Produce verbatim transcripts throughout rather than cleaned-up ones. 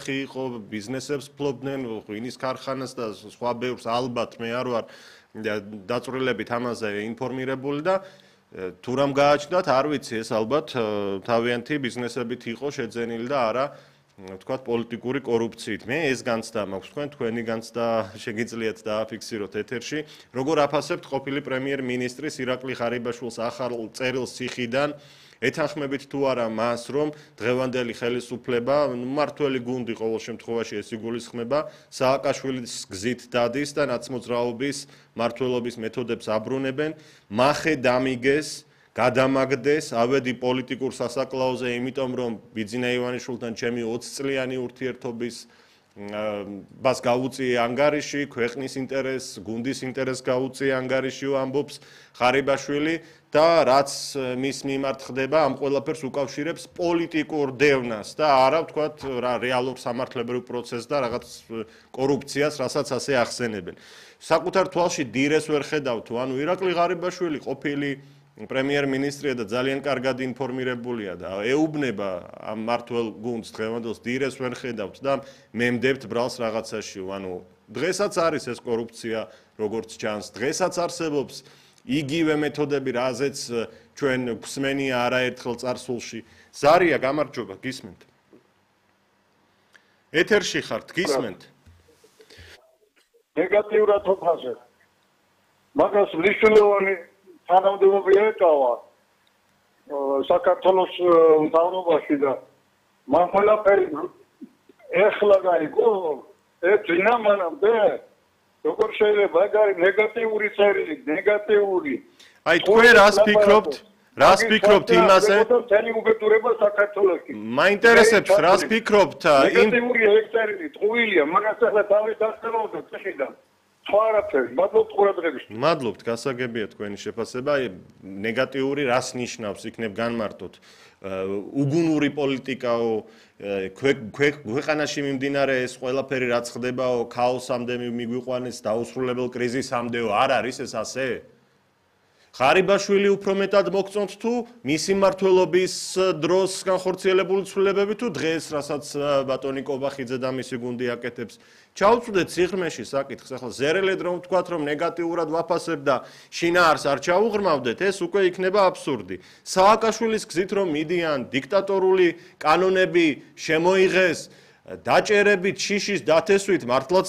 იყო ბიზნესებს ფლობდნენ, ღვინის ქარხანას და სხვა ბევრს ალბათ მე არ ვარ დაწვრილებით ამაზე ინფორმირებული და თუ რამ გააჩნდათ, არ ვიცი, ეს ალბათ თავიანთი ბიზნესებით იყო შეძენილი და არა ვთქვათ პოლიტიკური კორუფციით. მე ეს განცდა მაქვს, თქვენ თქვენი განცდა შეგიძლიათ დააფიქსიროთ ეთერში. როგორ აფასებთ ყოფილი პრემიერ-მინისტრის ირაკლი ღარიბაშვილის ახალ წერილს ციხიდან? ეთანხმებით თუ არა მას, რომ დღევანდელი ხელისუფლება, მმართველი გუნდი ყოველ შემთხვევაში ეს იგულისხმება, სააკაშვილის გზით დადის და ნაცმოძრაობის მმართველობის მეთოდებს აბრუნებენ, მახე დამიგეს, გადამაგდეს, ავედი პოლიტიკურ სასაკლაოზე, იმიტომ რომ ბიძინა ივანიშვილთან ჩემი ოცი წლიანი ურთიერთობის ბას გაუწიე ანგარიში, ქვეყნის ინტერესს, გუნდის ინტერესს გაუწიე ანგარიში ამბობს ღარიბაშვილი და რაც მის მიმართ ხდება, ამ ყველაფერს უკავშირებს პოლიტიკურ დევნას და არა ვთქვათ რა რეალურ სამართლებრივ პროცესს და რაღაც კორუფციას, რასაც ასე ახსენებენ. საკუთარ თვალში დილეს ვერ ხედავთ, ანუ ირაკლი ღარიბაშვილი ყოფილი პრემიერ-მინისტრია და ძალიან კარგად ინფორმირებულია და ეუბნება ამ მმართველ გუნდს დღევანდელს დილეს ვერ ხედავთ და მემდებთ ბრალს რაღაცაში, ანუ დღესაც არის ეს კორუფცია, როგორც ჩანს, დღესაც არსებობს იგივე მეთოდები, რაზეც ჩვენ გვსმენია არაერთხელ წარსულში. ზარია, გამარჯობა, გისმენთ. ეთერში ხართ, გისმენთ. ნეგატიურად ვფასებ. მაგას მნიშვნელოვანი თანამდებობა ეკავა საქართველოს მთავრობაში და მან ყველაფერი ეხლა გაიგო, ეძინა მანამდე. როგორ შეიძლება ეგ არის ნეგატიური წერილი, ნეგატიური. აი თქვენ რას ფიქრობთ? რას ფიქრობთ იმაზე? თელი უბედურება საქართველოში. მაინტერესებს რას ფიქრობთ იმ ნეგატიური ეგ წერილი, ტყუილია, მაგას ახლა თავის დასწრებოდა ციხიდან. სხვა არაფერი, მადლობთ ყურადღებისთვის. მადლობთ, გასაგებია თქვენი შეფასება. ნეგატიური რას ნიშნავს, იქნებ განმარტოთ. უგუნური პოლიტიკაო, ქვეყანაში მიმდინარე ეს ყველაფერი რაც ხდებაო, ქაოსამდე მიგვიყვანეს, დაუსრულებელ კრიზისამდეო, არ არის ეს ასე? ღარიბაშვილი უფრო მეტად მოგწონთ თუ მისი მმართველობის დროს განხორციელებული ცვლილებები თუ დღეს, რასაც ბატონი კობახიძე და მისი გუნდი აკეთებს. ჩაუწვდეთ სიღრმეში საკითხს, ახლა ზერელედ რომ ვთქვათ, რომ ნეგატიურად ვაფასებ და შინაარს არ ჩაუღრმავდეთ, ეს უკვე იქნება აბსურდი. სააკაშვილის გზით რომ მიდიან, დიქტატორული კანონები შემოიღეს, დაჭერებით, შიშის დათესვით, მართლაც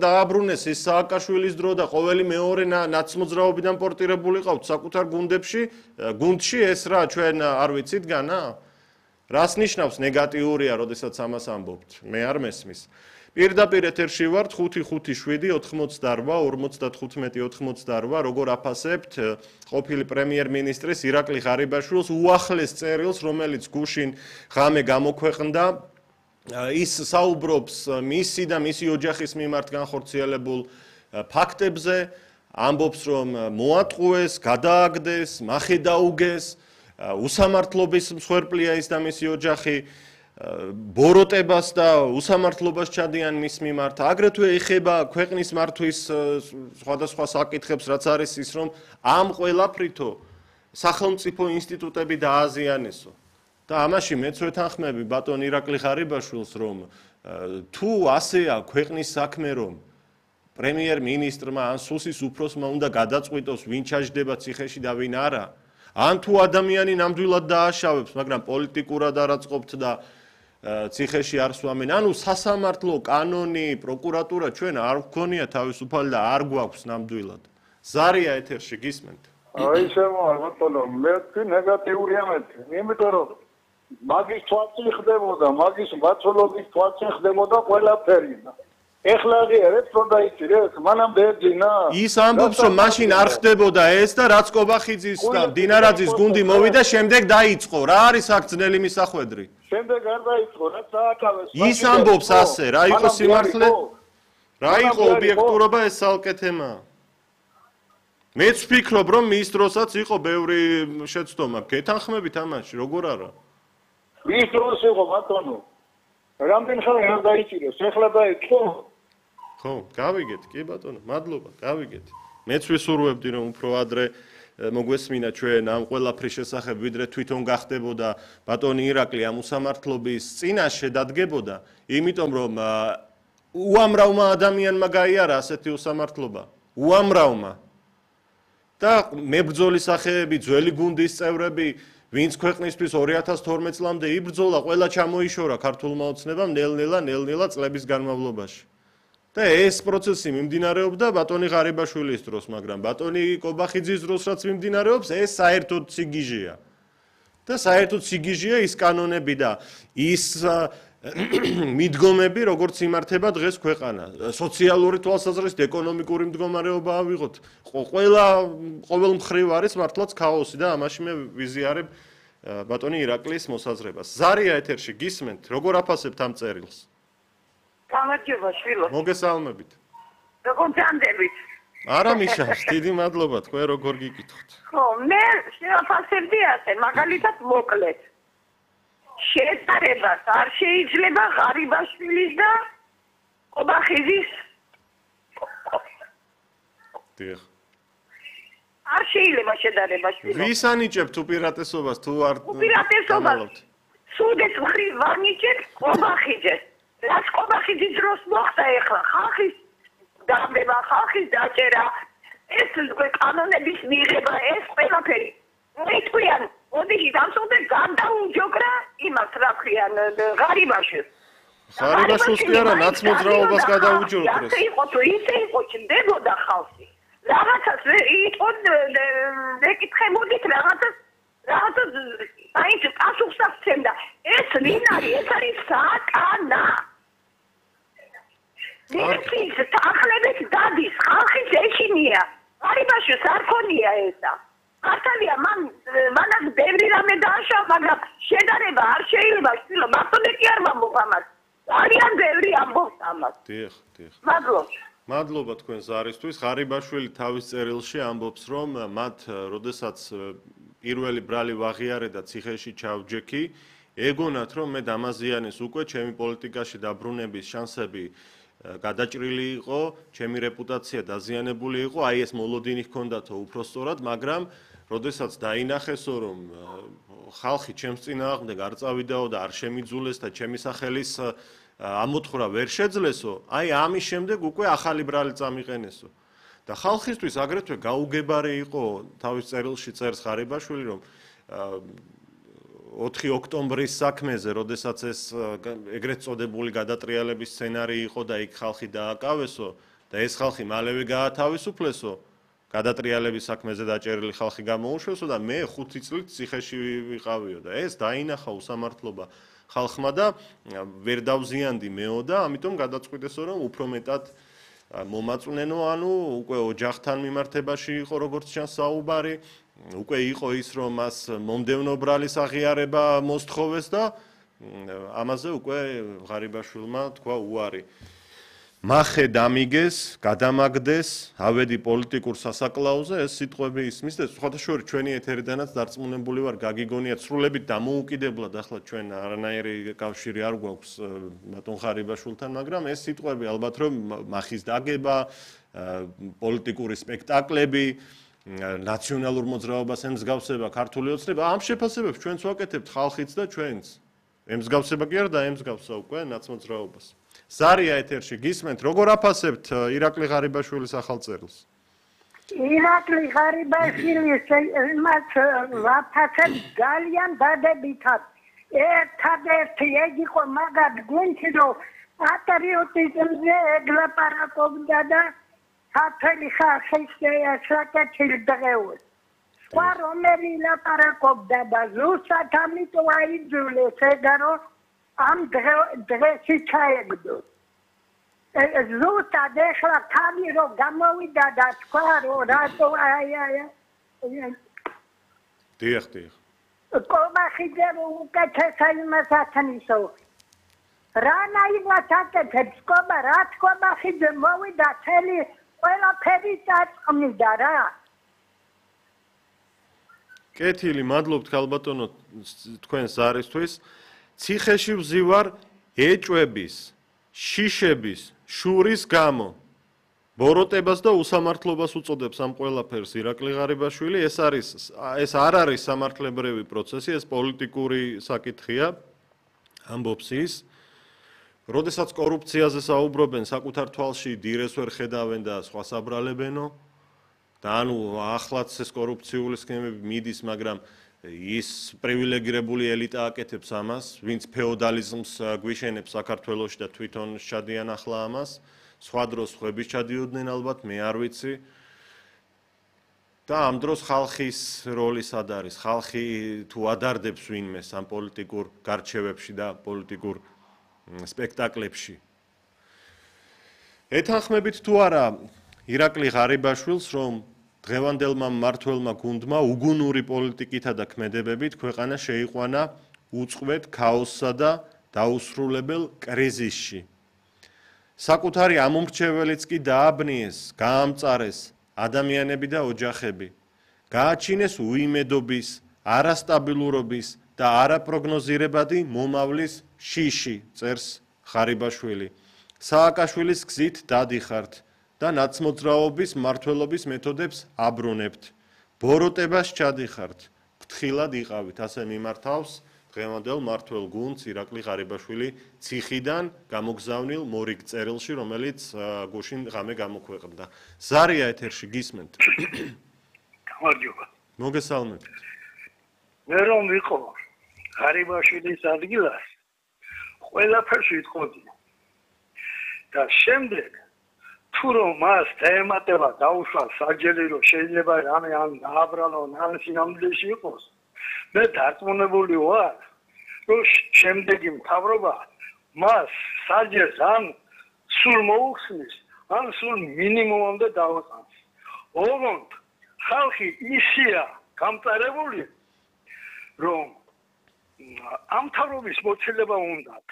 დააბრუნეს ის სააკაშვილის დრო და ყოველი მეორე ნაცმოძრაობიდან პორტირებული ყავთ საკუთარ გუნდებში, გუნდში ეს რა ჩვენ არ ვიცით განა? რას ნიშნავს ნეგატიურია, როდესაც ამას ამბობთ? მე არ მესმის. პირდაპირ ეთერში ვართ ხუთი ხუთი შვიდი ოთხმოცდარვა ორმოცდათხუთმეტი ოთხმოცდარვა როგორ აფასებთ ყოფილი პრემიერ-მინისტრის ირაკლი ღარიბაშვილის უახლეს წერილს, რომელიც გუშინ ღამე გამოქვეყნდა. ის საუბრობს მისი და მისი ოჯახის მიმართ განხორციელებულ ფაქტებზე, ამბობს რომ მოატყუეს, გადააგდეს, მახე დაუგეს, უსამართლობის მსხვერპლია ის და მისი ოჯახი, ბოროტებას და უსამართლობას ჩადიან მის მიმართ. აგრეთვე ეხება ქვეყნის მართვის სხვადასხვა საკითხებს, რაც არის ის რომ ამ ყველაფრითო სახელმწიფო ინსტიტუტები დააზიანესო. და ამაში მეც ვეთანხმები ბატონ ირაკლი ღარიბაშვილს, რომ თუ ასეა ქვეყნის საქმე, რომ პრემიერ-მინისტრმა ან სუსის უფროსმა უნდა გადაწყვიტოს, ვინ ჩაჯდება ციხეში და ვინ არა, ან თუ ადამიანი ნამდვილად დააშავებს, მაგრამ პოლიტიკურად არ აწყობთ და ციხეში არ სვამენ, ანუ სასამართლო კანონი, პროკურატურა ჩვენ არ გვქონია თავისუფალი და არ გვაქვს ნამდვილად. ზარია ეთერში გისმენთ. აი შემოარ ბატონო, მე თქვი ნეგატიური ამეთი, იმიტომ რომ მაგის თვალწინ ხდებოდა, მაგის მაცოლობის თვალწინ ხდებოდა ყველაფერი. ეხლა აღიარეთ რომ დაიჭირეს, მანამდე ეძინა. ის ამბობს რომ მაშინ არ ხდებოდა ეს და რაც კობახიძის და დინარაძის გუნდი მოვიდა, შემდეგ დაიწყო. რა არის აქ ძნელი მისახვედრი? შემდეგ არ დაიწყო, რაც სააკავეს. ის ამბობს ასე, რა იყო სიმართლე? რა იყო ობიექტურობა, ეს ცალკე თემაა. მეც ვფიქრობ რომ მის დროსაც იყო ბევრი შეცდომა. გეთანხმებით ამაში, როგორ არა? მის დროს იყო ბატონო. რამდენი ხანი არ დაიჭირეს, ეხლა დაიწყო. ხო, გავიგეთ, კი ბატონო, მადლობა, გავიგეთ. მეც ვისურვებდი რომ უფრო ადრე მოგვესმინა ჩვენ ამ ყველაფრის შესახებ, ვიდრე თვითონ გახდებოდა ბატონი ირაკლი ამ უსამართლობის წინაშე დადგებოდა, იმიტომ რომ უამრავმა ადამიანმა გაიარა ასეთი უსამართლობა, უამრავმა. და მებრძოლის სახეები, ძველი გუნდის წევრები, ვინც ქვეყნისთვის ორი ათას თორმეტ წლამდე იბრძოლა, ყველა ჩამოიშორა ქართულმა ოცნებამ ნელ-ნელა, ნელ-ნელა წლების განმავლობაში. და ეს პროცესი მიმდინარეობდა ბატონი ღარიბაშვილის დროს, მაგრამ ბატონი კობახიძის დროს რაც მიმდინარეობს, ეს საერთოდ სიგიჟეა. და საერთოდ სიგიჟეა ის კანონები და ის მიდგომები, როგორც იმართება დღეს ქვეყანა. სოციალური თვალსაზრისით, ეკონომიკური მდგომარეობა ავიღოთ. ყველა ყოველ მხრივ არის მართლაც ქაოსი და ამაში მე ვიზიარებ ბატონი ირაკლის მოსაზრებას. ზარია ეთერში გისმენთ, როგორ აფასებთ ამ წერილს? გამარჯობა შვილო. მოგესალმებით. როგორ ჯანდებით? არა მიშავს, დიდი მადლობა, თქვენ როგორ გიკითხოთ? ხო, მე შევაფასებდი ასე, მაგალითად მოკლედ. შეტარებას არ შეიძლება ღარიბაშვილის და კობახიძის. დიახ. არ შეიძლება შედარება შვილო. ვის ანიჭებთ უპირატესობას თუ არ უპირატესობას სუდეს მხრივ ვანიჭებ კობახიძეს. რაც კობახიძის დროს მოხდა ეხლა ხალხის დამდება, ხალხის დაჭერა, ეს კანონების მიღება, ეს ყველაფერი. მე თქვენ ოდიში დამსწრე გადაუჯოგრა იმას რა ქვიან ღარიბაშვილს. ღარიბაშვილს კი არა, ნაცმოძრაობას გადაუჯოგრეს. ასე იყო თუ ისე იყო ჩნდებოდა ხალხი. რაღაცას იტყოდ ეკითხებოდით რაღაცას რაღაცას აიც პასუხს აღწევდა. ეს ვინ არის? ეს არის საკანა. მისთვის ახლებეთ დადის, ხალხის ეშინია. ღარიბაშვილს არ ქონია ესა. ქართალია მან მანაც ბევრი რამე დააშავა, მაგრამ შედარება არ შეიძლება შვილო, მართლაც კი არ ვამბობ ამას. ძალიან ბევრი ამბობს ამას. დიახ, დიახ. მადლობა. მადლობა თქვენ ზარისთვის. ღარიბაშვილი თავის წერილში ამბობს, რომ მათ, როდესაც პირველი ბრალი ვაღიარე და ციხეში ჩავჯექი, ეგონათ, რომ მე დამაზიანეს უკვე ჩემი პოლიტიკაში დაბრუნების შანსები გადაჭრილი იყო, ჩემი რეპუტაცია დაზიანებული იყო, აი ეს მოლოდინი ჰქონდათო უпроსტორად, მაგრამ როდესაც დაინახესო, რომ ხალხი ჩემს წინააღმდეგ არ წავიდაო და არ შემიძულეს და ჩემი სახელის ამოთხრა ვერ შეძლესო, აი ამის შემდეგ უკვე ახალი ბრალი წამიყენესო. და ხალხისთვის აგრეთვე გაუგებარი იყო თავის წერილში წერს ღარიბაშვილი, რომ ოთხი ოქტომბრის საქმეზე, როდესაც ეს ეგრეთ წოდებული გადატრიალების სცენარი იყო და იქ ხალხი დააკავესო და ეს ხალხი მალევე გაათავისუფლესო, გადატრიალების საქმეზე დაჭერილი ხალხი გამოუშვესო და მე ხუთი წლით ციხეში ვიყავიო და ეს დაინახა უსამართლობა ხალხმა და ვერ დავზიანდი მეო და ამიტომ გადაწყვიტესო, რომ უფრო მეტად მომაწვნენო, ანუ უკვე ოჯახთან მიმართებაში იყო როგორც ჩანს საუბარი, უკვე იყო ის, რომ მას მომდევნო ბრალის აღიარება მოსთხოვეს და ამაზე უკვე ღარიბაშვილმა თქვა უარი. მახე დამიგეს, გადამაგდეს, ავედი პოლიტიკურ სასაკლაოზე, ეს სიტყვები ისმის და სხვადასხვა ჩვენი ეთერიდანაც დარწმუნებული ვარ, გაგიგონიათ სრულებით დამოუკიდებლად, ახლა ჩვენ არანაირი კავშირი არ გვაქვს ბატონ ღარიბაშვილთან, მაგრამ ეს სიტყვები ალბათ რომ მახის დაგება, პოლიტიკური სპექტაკლები, ნაციონალურ მოძრაობას ემსგავსება ქართული ოცნება, ამ შეფასებებს ჩვენც ვაკეთებთ ხალხიც და ჩვენც. ემსგავსება კი არა და ემსგავსა უკვე ნაცმოძრაობას. ზარია ეთერში გისმენთ, როგორ აფასებთ ირაკლი ღარიბაშვილის ახალ წერილს? ირაკლი ღარიბაშვილის მას ვაფასებ ძალიან დადებითად. ერთადერთი ეგ იყო მაგად გუნჩი, რომ პატრიოტიზმზე ეგლაპარაკობდა და ქართული ხალხის საკეთილ დღეებს. სხვა რომელი ლაპარაკობდა და ზუსტად ამიტომ აიძულეს ეგა, რომ ამ დღეში ჩაეგდო. ზუსტად ეხლა თავი რომ გამოვიდა და თქვა, რომ რატო აი აი დიახ, დიახ. კობახიძე უკეთესა იმას ათნისო. რანაირად აკეთებს კობა, რაც კობახიძე მოვიდა წელი ყველაფერი წაწყმიდა რა. კეთილი, მადლობთ ქალბატონო თქვენ ზარისთვის. ციხეში ვზივარ ეჭვების, შიშების, შურის გამო. ბოროტებას და უსამართლობას უწოდებს ამ ყველაფერს ირაკლი ღარიბაშვილი. ეს არის ეს არ არის სამართლებრივი პროცესი, ეს პოლიტიკური საკითხია. ამბობს ის, როდესაც კორუფციაზე საუბრობენ, საკუთარ თვალში დირეს ვერ ხედავენ და სხვა საბრალებენო. და ანუ ახლაც ეს კორუფციული სქემები მიდის, მაგრამ ის პრივილეგირებული ელიტა აკეთებს ამას, ვინც ფეოდალიზმს გვიშენებს საქართველოში და თვითონ შადიან ახლა ამას. სხვა დროს ხვების ჩადიოდნენ ალბათ, მე არ ვიცი. და ამ დროს ხალხის როლი სად არის? ხალხი თუ ადარდებს ვინმეს ამ პოლიტიკურ გარჩევებში და პოლიტიკურ სპექტაკლებში. ეთანხმებით თუ არა ირაკლი ღარიბაშვილს, რომ დღევანდელმა მმართველმა გუნდმა უგუნური პოლიტიკითა და ქმედებებით ქვეყანა შეიყვანა უწყვეტ ქაოსსა და დაუსრულებელ კრიზისში. საკუთარი ამომრჩეველიც კი დააბნიეს, გაამწარეს ადამიანები და ოჯახები. გააჩინეს უიმედობის, არასტაბილურობის და არაპროგნოზირებადი მომავლის შიში, წერს ღარიბაშვილი. სააკაშვილის გზით დადიხართ და ნაცმოძრაობის მმართველობის მეთოდებს აბრუნებთ. ბოროტებას ჩადიხართ, ფრთხილად იყავით, ასე მიმართავს დღევანდელ მმართველ გუნდს ირაკლი ღარიბაშვილი ციხიდან გამოგზავნილ მორიგ წერილში, რომელიც გუშინ ღამე გამოქვეყნდა. ზარია ეთერში, გისმენთ? გამარჯობა. მოგესალმებით. მე რომ ვიყო ღარიბაშვილის ადგილას, ყველაფერს ვიტყოდი. და შემდეგ თუ რომ მას თემატება დაუშვა საჯელი, რომ შეიძლება რამე ან დააბრალონ, ან სინამდვილეში იყოს, მე დარწმუნებული ვარ, რომ შემდეგი მთავრობა მას საჯელს ან სულ მოუხსნის, ან სულ მინიმუმამდე დავაყენს. ოღონდ ხალხი ისია გამწარებული, რომ ამ მთავრობის მოცილება უნდათ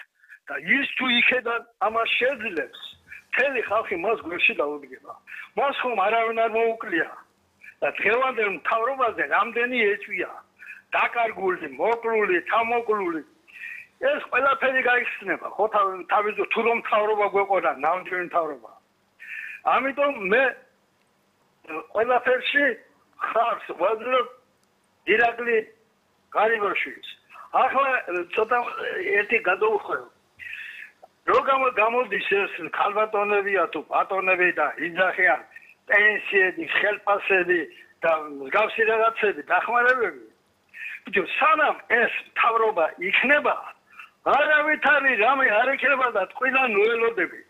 და ის თუ იქედან ამას შეძლებს, მთელი ხალხი მას გვერდში დაუდგება. მას ხომ არავინ არ მოუკლია და დღევანდელ მთავრობაზე რამდენი ეჭვია დაკარგული, მოკლული, თამოკლული. ეს ყველაფერი გაიხსნება, ხო თავის თუ რომ მთავრობა გვეყოდა, ნამდვილი მთავრობა. ამიტომ მე ყველაფერში ხარს ვაძლევ ირაკლი ღარიბაშვილს. ახლა ცოტა ერთი გადავუხვევ. რო გამოდის ეს ქალბატონებია თუ ბატონები და იძახიან პენსიები, ხელფასები და მსგავსი რაღაცები, დახმარებები. ბიჭო, სანამ ეს მთავრობა იქნება, არავითარი რამე არ იქნება და ტყიდან ნუელოდები.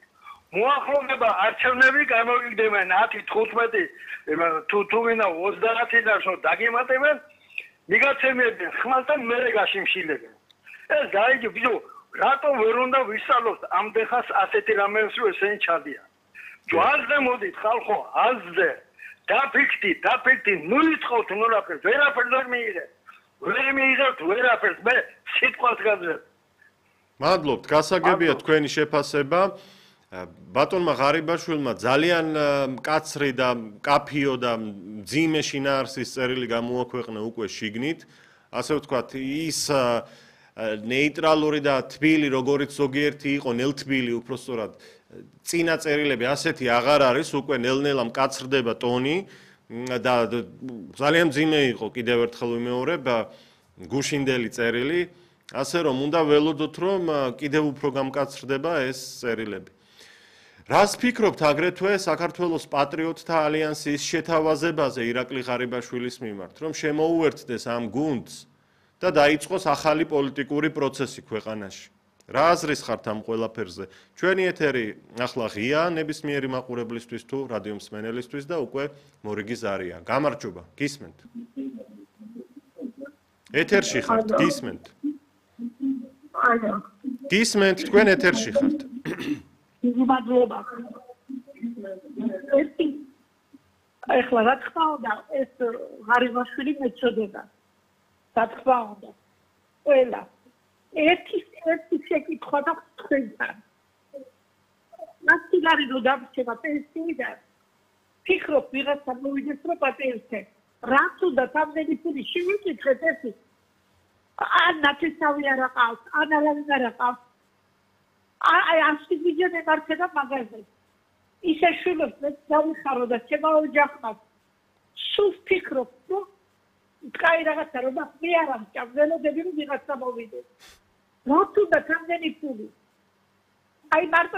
მოახლოვდება არჩევნები გამოგიგდებენ ათი, თხუთმეტი, თუ თუ ვინა ოცდაათი და შო დაგემატებენ, მიგაცემებენ ხმალთან მერე გაშიმშილებენ. ეს დაიჯო, ბიჭო, რატო ვერ უნდა ვისწავლოთ ამდენხანს ასეთი რამეებს, რომ ესენი ჩადიან. ჯვარზე მოდით ხალხო, აზზე, დაფიქთი, დაფიქთი, ნუ იტყოთ ნურაფერს, ვერაფერს ვერ მიიღეთ. ვერ მიიღებთ ვერაფერს, მე სიტყვას გაძლევ. მადლობთ, გასაგებია თქვენი შეფასება. ბატონმა ღარიბაშვილმა ძალიან მკაცრი და მკაფიო და მძიმე შინაარსის წერილი გამოაქვეყნა უკვე შიგნით. ასე ვთქვათ, ის ნეიტრალური და თბილი, როგორც ზოგიერთი იყო, ნელთბილი უпростоრად წინა წერილები ასეთი აღარ არის, უკვე ნელ-ნელა მკაცრდება ტონი და ძალიან მძიმე იყო, კიდევ ერთხელ ვიმეორებ, გუშინდელი წერილი, ასე რომ უნდა ველოდოთ, რომ კიდევ უფრო გამკაცრდება ეს წერილები. რას ფიქრობთ აგრეთვე საქართველოს პატრიოტთა ალიანსის შეთავაზებაზე ირაკლი ღარიბაშვილის მიმართ, რომ შემოუერთდეს ამ გუნდს და დაიწყოს ახალი პოლიტიკური პროცესი ქვეყანაში? რა აზრის ხართ ამ ყველაფერზე? ჩვენი ეთერი ახლა ღია ნებისმიერი მაყურებლისთვის თუ რადიო მსმენელისთვის და უკვე მორიგი ზარია. გამარჯობა, გისმენთ? ეთერში ხართ, გისმენთ? გისმენთ, თქვენ ეთერში ხართ. მადლობა. ეხლა რა თქმა უნდა, ეს ღარიბაშვილი მეწოდება. რა თქმა უნდა. ყველა ერთი ერთი შეკითხვა და თქვენთან. მასტიგარი რო დავშება პენსიიდან. ფიქრობ ვიღაცა მოვიდეს რომ პატიოსე. რაც უნდა თამდენი ფული შევიკითხეთ ეს. ან ნათესავი არ აყავს, ან არავინ არ აყავს. აი ასეთი ვიდეო მეკარდება მაგაზე. ისე შვილებს მე დავიხარო და ჩემო ოჯახმა სულ ფიქრობ, რომ თქვი რაღაცა რომ მე არ ამ ჭამველოდები რომ ვიღაცა მოვიდეს. რა თუნდაც ამდენი ფული. აი მარტო